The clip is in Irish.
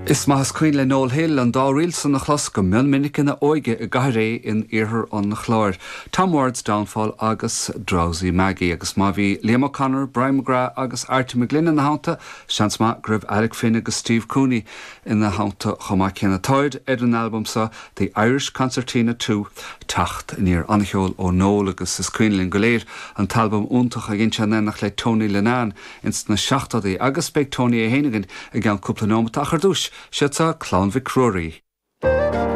Is maith is cuimhin le Noel Hill an dá ríl san a chlos go mion minic ina óige i gCathair Aodha in iarthar an Chláir, Tom Ward's Downfall agus Drowsy Maggie. Agus má bhí Liam O'Connor, Brian McGrath agus Arty McGlynn ina theannta, seans maith go raibh Alec Finn agus Steve Cooney ina theannta chomh maith céanna. Táid ar an albam seo, The Irish Concertina 2, Teacht Aniar. An-cheol ó Noel agus is cuimhin linn go léir an t-albam iontach a dhein sé in éineacht le Tony Linnane ins na seachtóidí agus beidh Tony é féin againn i gceann cúpla neomat ach ar dtús, siad seo Clann Mhic Ruairí.